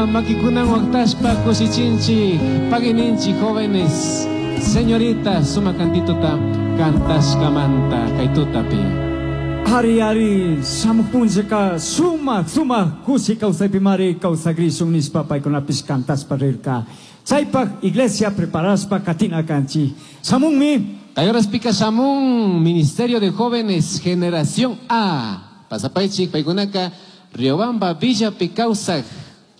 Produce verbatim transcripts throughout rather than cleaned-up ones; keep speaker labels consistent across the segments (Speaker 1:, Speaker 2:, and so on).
Speaker 1: makikunan waqtashpa kushichinchik, pagininchik jóvenes, señoritas, sumak cantituta kantashkamanta kay tutapi.
Speaker 2: Ari ari shamuq punllaka sumak sumak kushi kawsaypimari kawsakrishun nishpa paykunapish kantashpa rirka. Chaypaq iglesia preparashpa katina kanchik. Shamunmi.
Speaker 1: Kay horaspika shamun Ministerio de Jóvenes Generación A. Pasapaychik paykunaka Riobamba Villapi kawsaq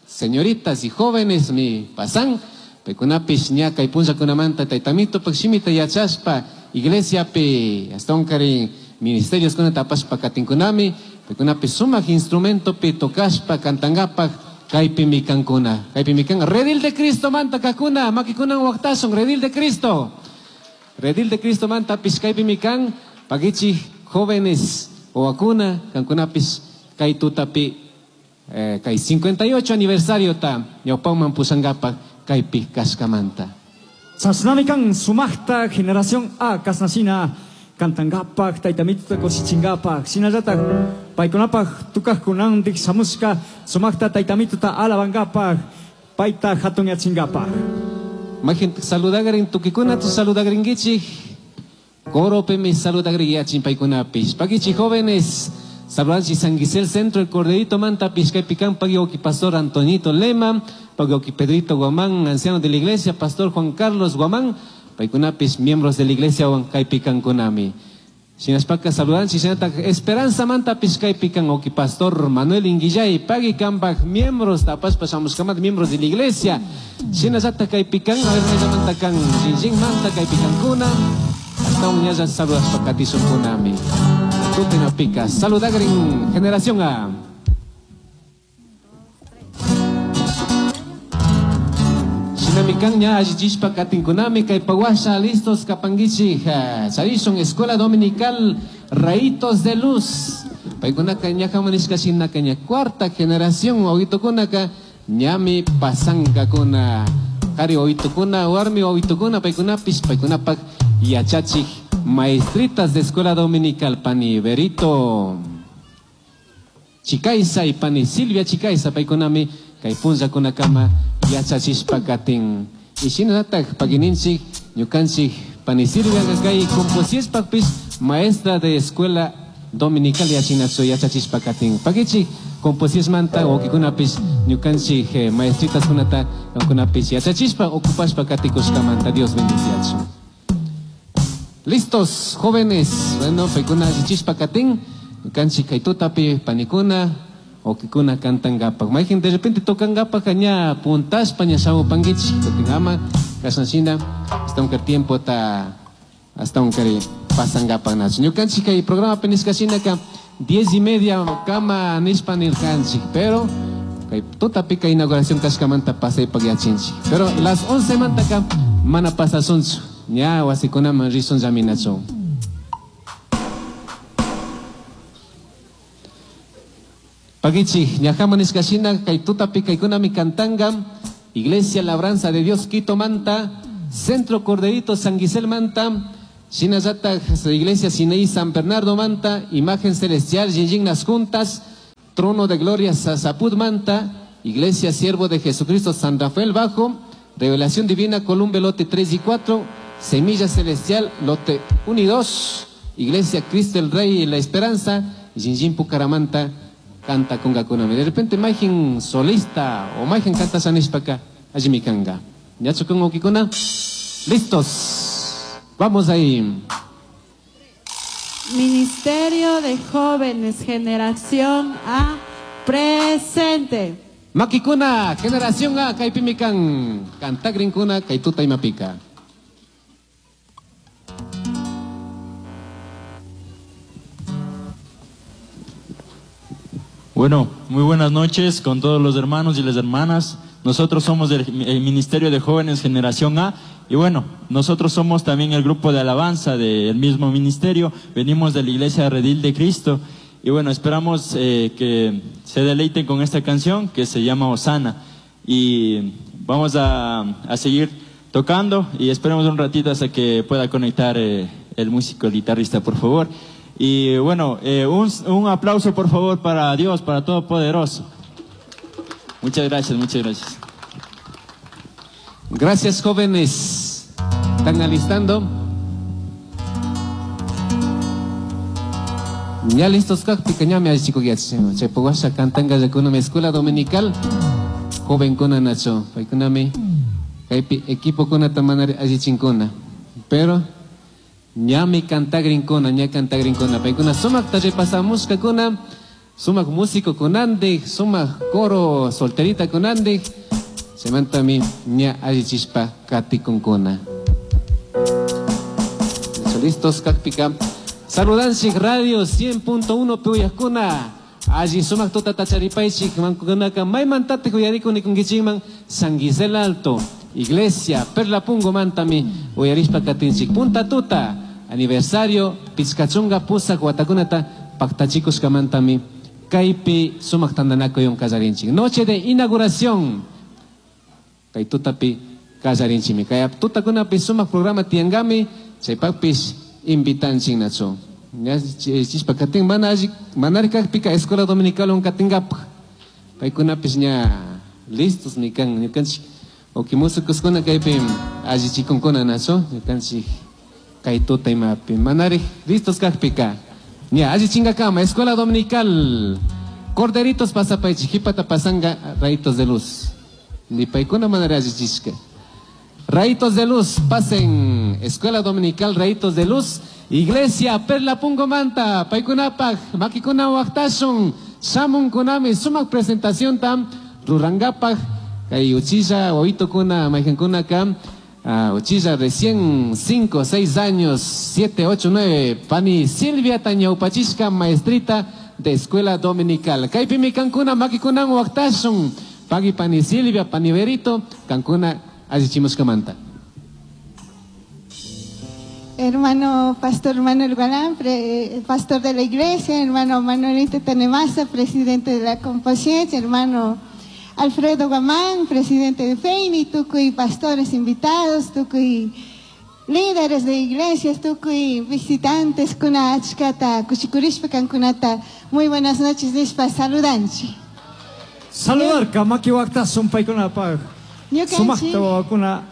Speaker 1: señoritas y jóvenes mi pasan. Paykunapish ña kay punllakunamanta taytamitupak shimita yachashpa iglesiapi astawankarin ministerios kunata apashpa katinkunami. Paykunapish sumak instrumentopi tocashpa kantankapak kaypimi kankuna. Kaypimi kan Redil de Cristo manta kakuna makikunan waqtashun Redil de Cristo. Redil de Cristo manta pish kaypimi kan pagichik jóvenes wawakuna kankunapis kay tutapi, eh, kay cincuenta y ocho aniversario ta ñawpaman pushankapak kaypi kashkamanta.
Speaker 2: Chashnami kan sumakta generación A kasnashina kantankapak taytamituta kushichinkapak shinallatak paykunapak tukajkunandik shamushka sumakta taytamituta alabankapak payta hatunyachinkapak.
Speaker 1: Majin saludagarin tukikuna tu saludagarinkichik coropemi saludagriyachin paykunapis. Pagichi jóvenes saludanchi San Gisel Centro el Corderito Manta Pishkaypikan pagioki Pastor Antonito Lema pagioki Pedrito Guamán anciano de la iglesia Pastor Juan Carlos Guamán paykunapis miembros de la iglesia Huancaypican kunami. Shinaspaka saludanchi shinata Esperanza Manta Pishkaypikan oki Pastor Manuel Inguillay pagi kambak miembros tapaspa shamushkamat miembros de la iglesia. Shinallata kaypikan a ver maymanta kan Jinjin Manta kaypikan kuna hasta un ñalla saludaspa katishun kunami. Tutina pica saludagrin generación A. Shinamikan ña allichishpa katinkunami kay pawasha listos kapangichi charishun escuela dominical Rayitos de Luz. Paykunaka ña hamunishka shinaka ña cuarta generación wawitukunaka ñami pasankakuna. Qhari wawitukuna warmi wawitukuna paykunapis paykunapak yachachik maestritas de escuela dominical pani Berito Chicaiza y pani Silvia Chicaiza paykunami kay punllakunakama yachachishpa katin. Y shinallatak pagininchik ñukanchik pani Silvia kay composispakpis maestra de escuela dominical yachinachu yachachishpa katin. Pagichik composismanta wakikunapis ñukanchik, eh, maestritas kunata kunapis yachachishpa ocupashpa katikushkamanta Dios bendiciachu. Listos jóvenes, bueno, paykuna yachachishpa katin ñukanchik kay tutapi panikuna okikuna kantankapak. Mayqin de repente tokankapak ña puntashpa ña shamupankichik kutin ama kashanshina hasta un tiempo ta hasta un kari pasankapak nachu. Ñukanchik kay programa nishkashinaka diez y media kama nishpa nirkanchik, pero kay tutapi kay inauguración kashkamanta pasaypak yachinchik. Pero las once mantaka mana pasasunchu ña wasikunaman rishun llaminachu. Pagichi, ñajama nishkashina kay tutapi kaykunami kantanga Iglesia Labranza de Dios Quito Manta, Centro Corderito San Gisel Manta, Shinallata Iglesia Sinaí San Bernardo Manta, Imagen Celestial Yinyin Las Juntas, Trono de Gloria Sasaput Manta, Iglesia Siervo de Jesucristo San Rafael Bajo, Revelación Divina Columbe Lote tres y cuatro, Semilla Celestial Lote uno y dos, Iglesia Cristo el Rey y la Esperanza, Yinyin Pucaramanta canta con Gakunami. De repente Majin solista o Majin canta sanishpaka, allí mi kanga. ¿Ya chocó okikuna? Listos. Vamos ahí.
Speaker 3: Ministerio de Jóvenes, Generación A, presente.
Speaker 1: Makikuna, Generación A, kaipimikan, kantagrinkuna, kaituta imapika.
Speaker 4: Bueno, muy buenas noches con todos los hermanos y las hermanas. Nosotros somos del, el Ministerio de Jóvenes Generación A y bueno, nosotros somos también el grupo de alabanza del mismo ministerio. Venimos de la Iglesia Redil de Cristo y bueno, esperamos, eh, que se deleiten con esta canción que se llama Osana. Y vamos a, a seguir tocando y esperemos un ratito hasta que pueda conectar, eh, el músico, el guitarrista, por favor. Y bueno, eh, un, un aplauso por favor para Dios, para Todopoderoso. Muchas gracias, muchas gracias.
Speaker 1: Gracias, jóvenes. ¿Están alistando? Ya listos, kak, ñami allichikuq yachachin. Chaypa washa cantanqallakunami escuela dominical. Jovenkuna nacho. Paykunami kaypi equipokunata manari allichinkuna. Pero ñami cantagrinkuna, ña cantagrinkuna. Paykuna sumakta repasamushkakuna, sumak músico kunandik, sumak coro solterita kunandik. Chaymantami ña allichishpa katikunkuna. Listos, kakpika. Saludanchik Radio cien punto uno puyakuna. Allí sumak tuta tacharipaychik mankunaka maymantatik uyarikuni kunkichikman San Gisela Alto, Iglesia Perla Pungo mantami uyarishpa katinchik. Punta tuta aniversario pichkachunga pusak watakunata paktachikushkamantami kaypi sumak tantanakuyon kallarinchik. Noche de inauguración kay tutapi kallarinchikmi. Kay tutakunapi sumak programa tiangami chaypakpish invitanchik nacho. Chispa katin mana alli manari kakpika escuela dominical on katingapaj. Paykunapis ña listos mi kan ñukanchik oki músicos kuna kaypi allichikunkuna nacho ñukanchik kay tuta imapi manari listos kakpika. Ña allichinkakama escuela dominical Corderitos pasapaychik jipata pasanga rayitos de luz. Ni paykuna manari allichishka. Rayitos de luz, pasen Escuela Dominical Rayitos de Luz, Iglesia Perla Pungo Manta, Paykunapaj, Makikuna Waqtashun, Shamun Kunami, sumak presentación tam, Rurangapaj, kay uchilla, oito kuna, mayjankuna kam, ah, uchilla recién cinco, seis años, siete, ocho, nueve, Pani Silvia Tañaupachishka, maestrita de Escuela Dominical. Kaypimi kankuna, Makikunan Waqtashun, Pagui Pani Silvia, Pani Berito, kankuna allichimushkamanta.
Speaker 5: Hermano Pastor Manuel Gualán, pre, pastor de la iglesia, hermano Manuelito Tenemasa, presidente de la Composición, hermano Alfredo Guamán, presidente de FEINI, tukuy pastores invitados, tukuy líderes de iglesias, tukuy visitantes, kuna achkata, kushikurishpa kankunata. Muy buenas noches, nishpa saludanchi.
Speaker 2: Saludar, kamaki waqtasun paykunapaj.
Speaker 5: Ñukanchik
Speaker 2: Sumakta wawakuna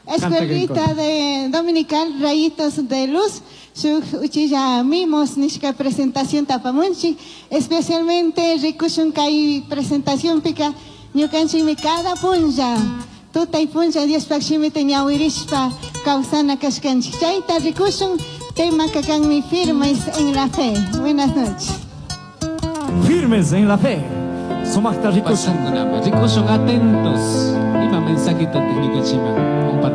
Speaker 5: Escuelita de Dominical Rayitos de Luz, shuk uchilla mimos nishka presentación tapamunchi, especialmente rikushun kay presentación pika ñukanchikmi cada punlla, tuta y punlla Diospaj shimita ñawirishpa kawsana kashkanchik. Chayta rikushun tema kakanmi firmes en la fe. Buenas noches.
Speaker 2: Firmes en la fe. Sumakta rikushun.
Speaker 1: Rikushun atentos. Ima mensajito ñukanchikman compartir.